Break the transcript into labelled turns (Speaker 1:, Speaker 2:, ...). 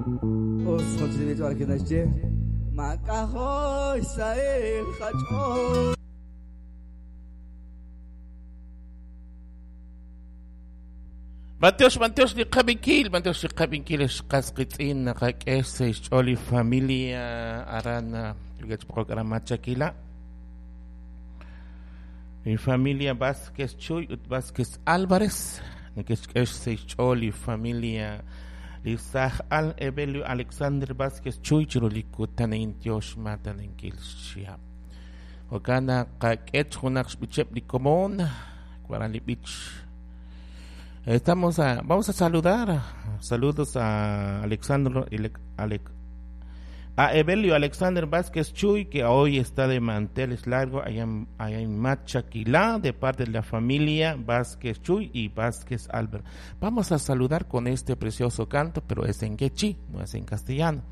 Speaker 1: Us jo'chili b'ich Mak'ajo' xsahil qach'ool.
Speaker 2: Matiox, Matiox li qabinkil, Matiox li qabinkil xqas qitz'in naqak'e xch'ool li familia aran yugechpokok aran Machaquila. Mi familia Vázquez Chuy ut Vázquez Álvarez, nekexk'e xch'ool li familia li saj al Evelio Alexander Vázquez Chuy chiru li kutanin tiox mataninkil xchihab'. Jo'kan naqak'e junaq xb'icheb' li komon, waran li b'ich. Vamos a saludar, saludos a Alexandro, a Evelio Alexander Vázquez Chuy, que hoy está de manteles largo allá en Machaquilá, de parte de la familia Vázquez Chuy y Vázquez Albert. Vamos a saludar con este precioso canto, pero es en quechí, no es en castellano.